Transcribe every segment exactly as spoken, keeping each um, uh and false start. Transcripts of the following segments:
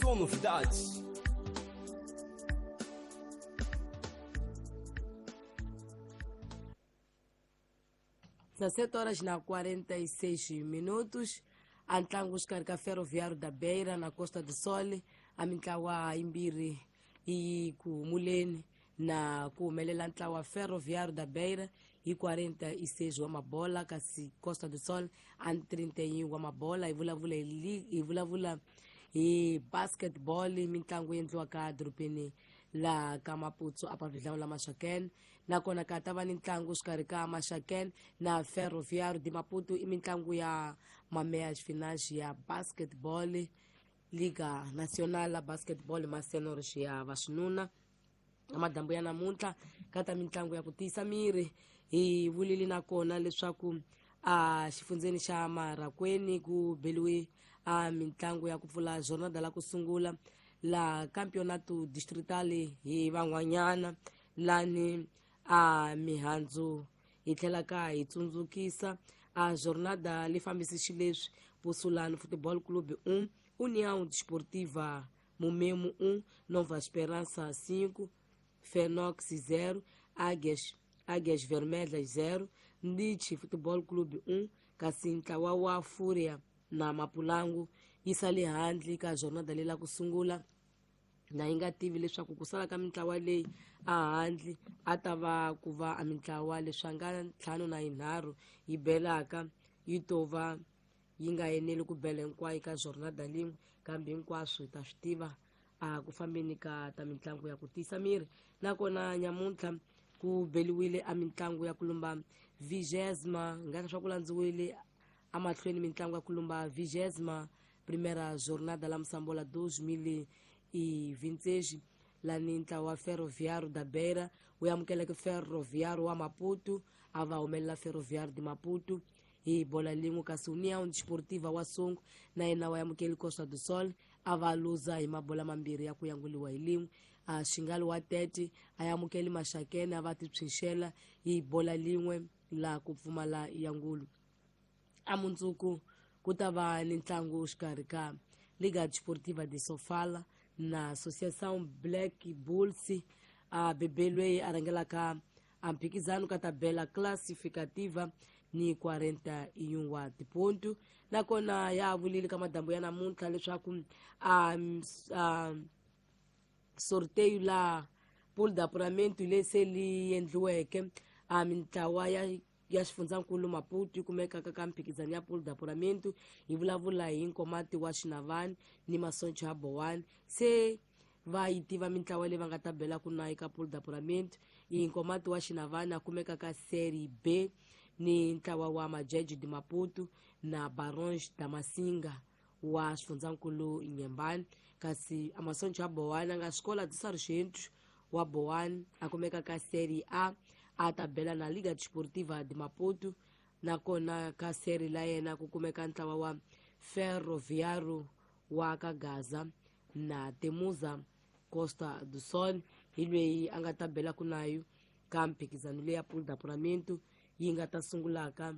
Com novidades. dezessete horas na quarenta e seis minutos. A ntlangu xikarhi ka Ferroviário da Beira na Costa do Sol, a mintlawa yimbirhi yi ku humuleni na ku humelela ntlawa Ferroviário da Beira hi quarenta e seis wa mabola, kasi Costa do Sol a trinta e um wa mabola. Hi vulavula hi hi vulavula hi basketball, mitlangu yi endliwaka dorobeni la ka Maputo apa vidlawu la Maxakene. Nakona ka ta va ni ntlangu xikarhi ka Maxakene na Ferroviário de Maputo, i mitlangu ya mameyas finais ya basketball, Liga Nacional la Basketball Masenor ya vaxinuna. Madambu ya namuntlha ka ta mitlangu ya ku tiyisa miri. Hi vulile nakona leswaku a xifundzeni xa Marakweni ku beliwe a mitlangu ya ku pfula jornada la ku sungula la campeonato distrital hi van'wanyana, lani a mihandzu hi tlhela ka hi tsundzukisa a jornada li fambisi xileswi: Pusulano Futebol Clube um, União Desportiva Momemo um, Nova Esperança cinco, Fenox zero, Águias, Águias Vermelhas zero, Nietzsche Futebol Clube um, kasi ntlawa wa Fúria na Mapulangu yi sale handle ka jornada leyi la ku sungula. Na yi nga tivi leswaku ku sala ka mintlawa leyi a handle a ta va ku va a mintlawa leswi nga ntlhanu na yinharhu yi belaka yi to va yi nga eneli ku bela hinkwayo ka jornada lin'we, kambe hinkwaswo hi ta swi tiva a ku fambeni ka ta mitlangu ya ku tiyisa miri. Nakona nyamuntlha ku beliwile a mitlangu ya ku lumba vigésima, nga swa ku landziwile amahlweni mitlangu ya ku lumba vigésima primeira jornada la Moçambola dois mil e vinte e seis, lani ntlawa Ferroviário da Beira wu amukeleke Ferroviário wa Maputo, a va humelela Ferroviário de Maputo hi bola lin'we, kasi União Desportiva wa Songo na yena wa amukeli Costa do Sol, a va luza hi mabola mambirhi ya ku yanguliwa hi lin'we. A Xingali wa Tete a amukeli Maxakene, a va tipsinxela hi bola lin'we la ku pfumala yangulu. A mundzuku ku ta va ni ntlangu xikarhi ka Liga Desportiva de Sofala na Associação Black Bulls. A bebe loyi a rhangelaka a mphikizano ka tabela classificativa ni quarenta e um wa tipontu. Nakona ya vulile ka madambu ya namuntlha leswaku a, a sorteio la pool d'apuramento leyi se li endliweke a mintlawa ya ya xifundzankulu Maputo yi kumekaka ka mphikizano ya pool d'apuramento. Hi vulavula hi Nkomati wa Xinavani ni Masoncho ya Bowani, se va yi tiva mintlawa leyi va nga ta belaku na eka pool d'apuramento. I Nkomati wa Xinavani a kumeka ka Série B ni ntlawa wa Majeje de Maputo na Barões da Massinga wa xifundzankulu Inhambane, kasi a Masoncho ya Bowani a nga Escola de Sargentos wa Bowani a kumeka ka Série A, a ta bela na Liga Desportiva de Maputo. Nakona ka seri la yena ku kumeka ntlawa wa Ferroviário wa ka Gaza na Temuza Costa do Sol, hi loyi a nga ta belaku nayo ka mphikizano leyi ya pool d'apuramento yi nga ta sungulaka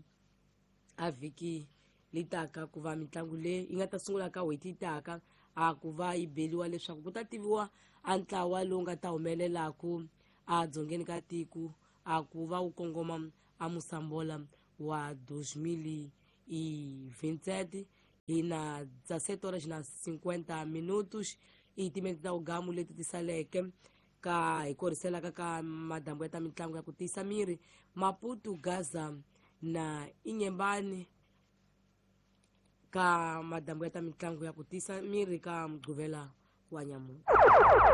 a vhiki li taka ku va mitlangu leyi yi nga ta sungulaka n'hweti yi taka a ku va yi beliwa leswaku ku ta tiviwa a ntlawa lowu nga ta humelelaku a dzongeni ka tiko a ku va wu kongoma a Moçambola wa dois mil e vinte e sete. Hi na dezessete horas na cinquenta minutos i timinete ta ugamu leti ti saleke ka hi koriselaka ka madambu ya ta mitlangu ya ku tiyisa miri. Maputo, Gaza na Inhambane ka madambu ya ta mitlangu ya ku tiyisa miri ka Mugqivela wa nyamuntlha.